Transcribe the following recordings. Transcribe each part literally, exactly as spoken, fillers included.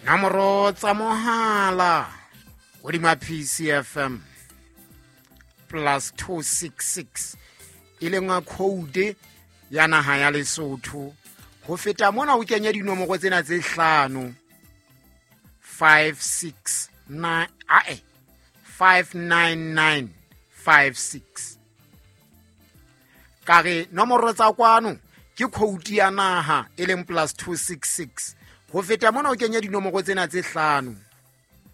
Nomoro tsa mohala hodima P C F M plus two six six e leng code ya naha ya Lesotho. Ho feta mona o kenye dinomoro tsena tse hlano five six nine ae five nine nine five six. Ka re nomoro tsa kwano ke code ya naha e leng plus two six six. Ho feta mona o kenye dinomoro tsena tse hlano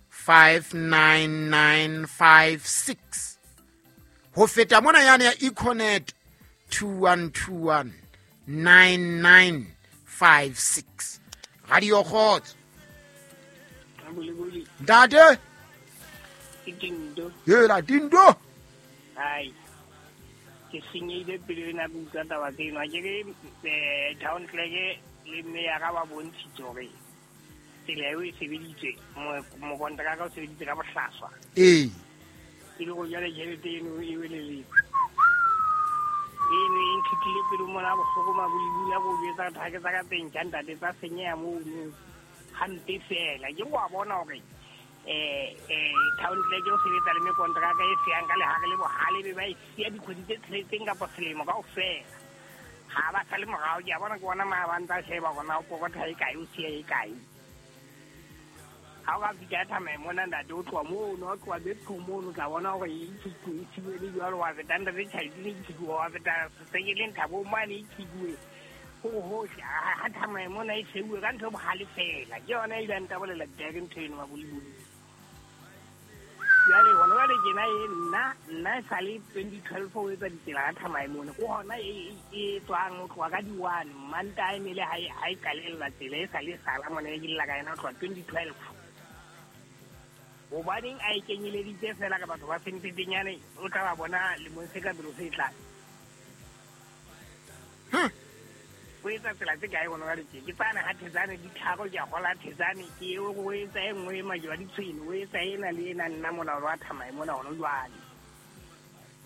five nine nine five six. Ho feta mona yane ya Econet two one two one nine nine five six. Radio Kgotso. Ntate. Tindo. Hela Tindo. Ai. Ke senyehile pele na utlwa taba tseno. Ke re town clerk le mme ya ka ba bontshitse hore tsela eo e sebeditswe mokontraka o sebeditse ka bohlaswa. Ee. E le go jale tjhelete eno e welele. Eno e nkhithile pele mona bohloko mabolibula go jwetsa thake tsa ka teng tja ntate tsa senyeha mono hampe fela. Ke wa bona hore eh eh town clerk o sebetsa le mekontraka e seyang ka lehare le bohale be ba e siya dikgwedi tse tsheletseng kapa selemo kaofela. Ha ba sale morao ke a bona ke bona ma ba ntsa sheba hore na o pokotha e kae o siya e kae. Ha o ka fihla thamae mona ntate o tloha mono, o tloha Betco mono, o tla bona hore e e thibele jwalo, wa feta ntate Tjhaitine e thibuwe, wa feta Sekeleng Thabo mane e thibuwe. Ho hohle ha thamae mona e seuwe ka ntho e bohale fela. Ke yona e ileng ntabolela ditaba ntho eno maboliboli. Jwale hona jwale tjena e nna nna e sale twenty twelve ho etsa ditsela ka thamae mona. Ke hona e e tswang ho tloha ka di one Mantaha e ne le ha e ha e qalella tsela e sale sala mona e ke lla ka yona ho tloha twenty twelve. Hobaneng a e kenyeleditse fela ka batho ba Sempepenyane o tla ba bona lemong se ka pele se tlang. O etsa tsela tse kae hona jwale tje? Ke tsane ha Thetsane di tharo ke a kgola Thetsane ke o o etsa e nngwe e majwa ditshwene o etsa ena le ena nna mona hore wa thamae mona hona jwale.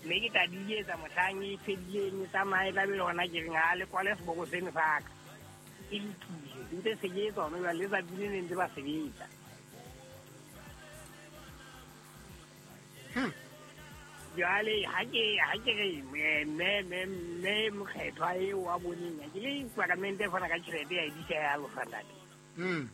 Mme ke tla di etsa mohlang e fedileng e tsamaye tla be le hona ke reng ha le kwale seboko seno sa ka. E lokile ntse se ke etsa hona jwale letsatsi le ne ntse ba sebetsa. Jwale ha ke ha ke re mme mme mme mokgethwa eo wa boneng ke le parlamente fana ka tjhelete ya edisa ya lofa ntate. Mm.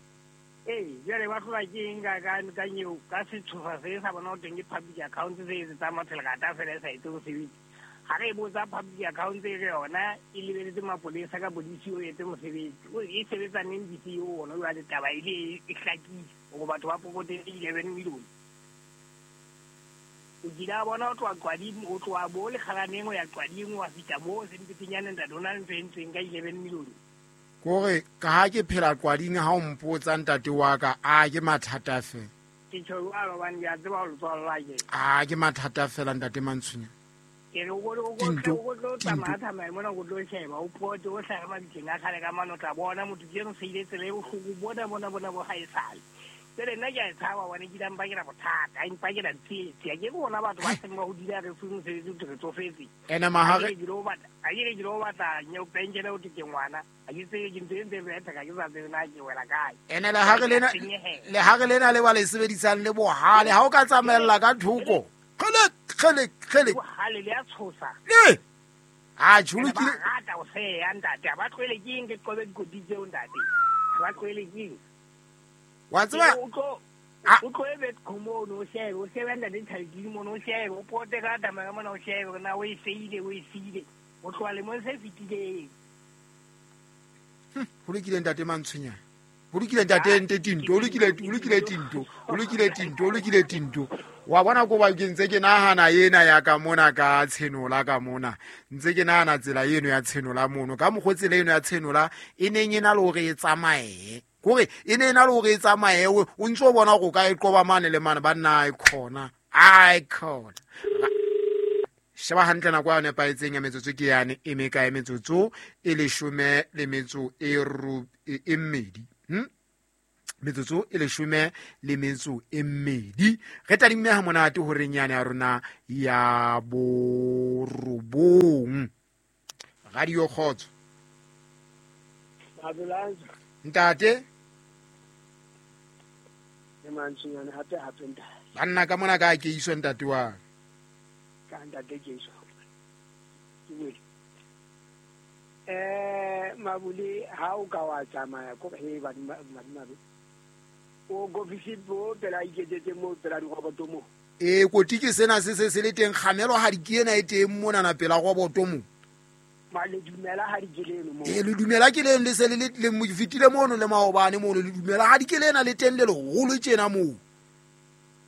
Ee, jwale ba hlola ke eng ka ka ka nyeo ka setshosa se sa bona ho teng ke public account se etsang matshelekata fela e sa etse mosebetsi. Ha re botsa public account e re yona e lebeletse mapolesa ka bodisi o etse mosebetsi. O e sebetsa neng D C O ona jwale taba e le e hlakile hore batho ba pokote eleven million. O kile a bona o tloha Qwading, o tloha bo Lekgalaneng o ya Qwading wa fihla moo Sempepenyane ntate o na le ntho e entsweng ka eleven million. Kore ka ha ke phela Qwading ha o mpotsa ntate wa ka a ke mathata fela. Ke tjho jwalo hobane ke a tseba ho letswalo la ke. A ke mathata fela ntate Mantshunya. Ke re o o o tlo tsamaya tsamaya mona o tlo sheba o pote o hlahe mabitleng a kgale ka mane o tla bona motho ke eno seile tsela e bohloko bona bona bona bo ha e sale. Jwale nna ke a e tshaba hobane ke ile a mpakela bothata, a mpakela tsietsi. Ha ke bona batho ba seng ba hodile ha re fuwe mosebetsi ho thwe re tsofetse. Ene mahare Ha ke re ke lo batla nyeo penshele ho thwe ke ngwana. Ha ke tsebe ke ntho e ntse e betha ka ke sa tsebe na ke wela kae. Ene le ha re lena le ha re lena le ba le sebedisang le bohale ha o ka tsamaella ka thoko. Kgele kgele kgele. Bohale le a tshosa. Le. A tjho ke rata o seya ntate. Ha ba tlohele ke eng ke qobe dikoti tseo ntate. Ha ba tlohele ke eng? Wa tseba o tlo o tlo ebe khomono o shebe o shebe ntate Tjhaitine mono o shebe o pote ka tsamaya mona o shebe na o e seile o e siile o tloha lemong se fetileng. Ho lokile ntate Mantshunya. Ho lokile ntate nte Tinto, ho lokile ho lokile Tinto, ho lokile Tinto, ho lokile Tinto. Wa bona ko ba ke ntse ke nahana ena ya ka mona ka tshenola ka mona. Ntse ke nahana tsela eno ya tshenola mono. Ka mokgwa tsela eno ya tshenola e neng e na le hore e tsamaye. Kore e ne na le hore e tsamaye o ntse o bona hore o ka e qoba mane le mane ba nna e khona. Ai khona. Sheba hantle nako ya nepahetseng ya metsotso ke yane e mekae metsotso e leshome le metso e e mmedi. Hm? Metsotso e leshome le metso e mmedi. Re tadimme ha monate horeng yane ya rona ya borobong. Radio Kgotso. Ntate Le mantsonyane hape hape ntate. Banna ka mona ka ke iswa ntate wa. Ka ntate ke iswa. Ke bue. Eh Mabule ha o ka wa tsamaya ko he ba madimabe. O go visit bo pela iketsetse mo pela diroboto mo. E koti ke sena se se se le teng kgamelo ha di ke ena e teng mona na pela roboto mo. Ma le dumela ha di ke leno mo. E le dumela ke leno le se le le fitile mono le maobane mono le dumela ha di ke lena le teng le leholo tjena mo.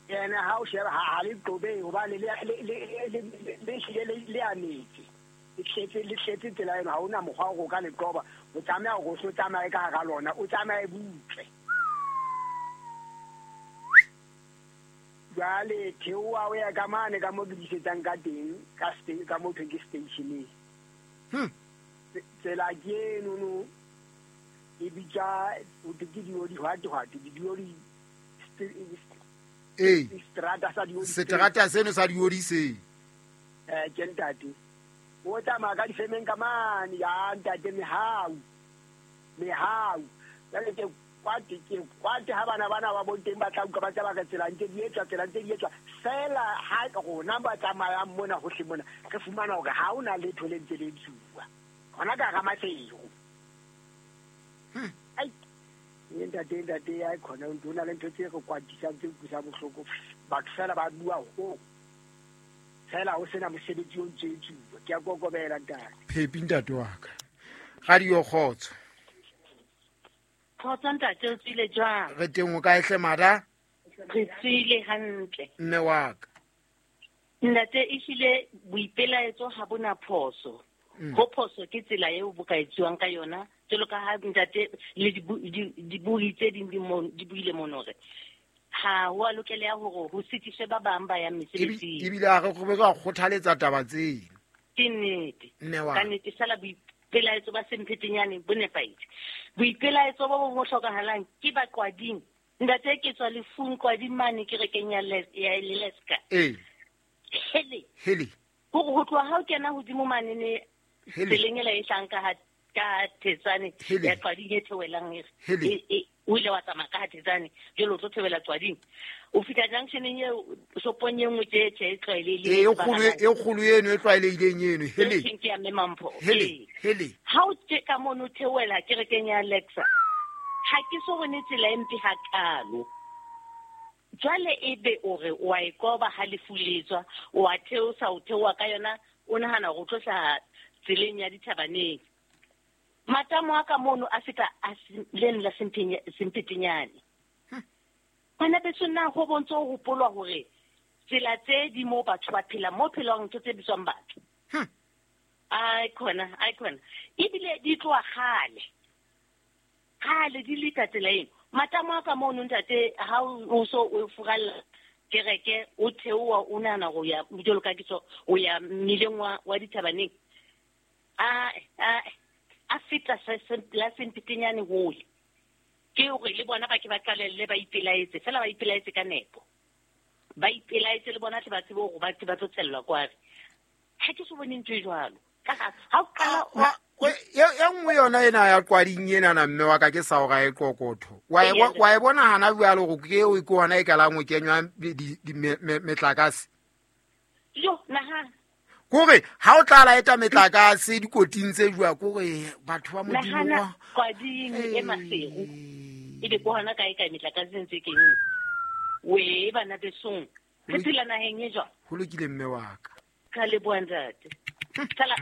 Yena ha o sheba ha le qobe hobane le le le le hlile le a metse. Le tletse le tletse tsela eno ha ona mokgwa o ka le qoba. O tsamaya go so tsamaye ka hara lona, o tsamaye butle. Jwale theoha o ya ka mane ka mo ke disetsang ka teng ka ka mo thweng ke stationeng. Hmm. Tsela ke eno no e bitsa o ke di di hwate hwate di di eh strata sa di seterata seno sa diodi se eh ke ntate o tsamaya ka difemeng ka mane ya ntate mehau mehau jwale ke kwate ke kwate ha bana bana ba bonteng ba tla utlwa ba tla ba ka tsela ntse di etswa tsela ntse di etswa fela ha rona ba tsamayang mona hohle mona re fumana hore ha ona letho le ntse le tsuwa hona ka ga Maseru. Hmm. Ai ntate ntate ya khona o ntona le ntho tse re kwatisang tse utlwisang bohloko batho fela ba bua ho fela ho sena mosebetsi o ntse tsuwa ke a kokobela ntate. Phepi ntate wa ka. Radio Kgotso. Kgotso ntate o tswile jwang? Re teng o kae hle mada? Re tswile hantle. Mme wa ka. Ntate ehlile boipelaetso ha bona phoso. Mm. Ho phoso ke tsela eo bo ka etsuwang ka yona. Jwalo ka ha ntate le dibui tse ding di buile mono hore ha ho a lokela hore ho sitiswe ba bang ba yang mesebetsing. Ebile a re re ka kgothaletsa taba tseo. Ke nnete. Mme wa ka nnete sala boipelaetso ba Semphetenyane bo nepahetse. Boipelaetso bo bo hlokahalang ke ba Qwading. Ntate ke tswa lefung Qwading mane kerekeng ya ya Leleska. Eh. Hele. Hele. Hore ho tloha ha o kena hodimo mane ne tseleng ela e hlang ka ka Thetsane ya Qwading e theohelang e o ile wa tsamaya ka Thetsane jwale o tlo theohela Qwading. O fihla junctioneng eo shopong e nngwe tje tje e tlwaelehileng. E kgolo e kgolo eno e tlwaelehileng eno. Hele. Ke ya Mme Mampho. Hele. Hele. Ha o tje ka mono theohela kerekeng ya Alexa. Ha ke so bone tsela e mpe hakalo. Jwale ebe o re o a e koba ha lefu le tswa, o a theosa o theoha ka yona o nahana hore o tlo hlaha tseleng ya dithabaneng. Matamo a ka mono a feta a leno la Semphetenyane. Bana beso na ho bontse ho hopolwa hore tsela tse di mo batho ba phela mo phelwang ntho tse bitswang batho. Ai khona, ai khona. Ebile di tloha kgale. Kgale di le ka tsela eno. Matamo a ka mono ntate ha o so o furalla kereke o theoha o nahana hore o ya jwalo ka ke so o ya mmileng wa wa dithabaneng. A a a feta la Semphetenyane hole. Ke hore le bona ba ke ba qalelle ba ipelaetse fela ba ipelaetse ka nepo. Ba ipelaetse le bona tle ba tsebe hore ba ba tlo tshellwa kware. Ha ke so bone ntho e jwalo. Ka ha o qala e nngwe yona ena ya Qwading ena na mme wa ka ke sa o ra e qoqotho. Wa e wa e bona hana jwalo hore ke eo ke hona e kalang ho kenywa metlakase. Jo nahana. Kore ha o tla laeta metlakase dikoting tse jwa kore batho ba Modimo wa Qwading e Maseru. Ebe ko hona kae kae metlakase ntse keng. We bana besong. Re phela naheng e jwang? Ho lokile mme wa ka. Ka leboha ntate. Sala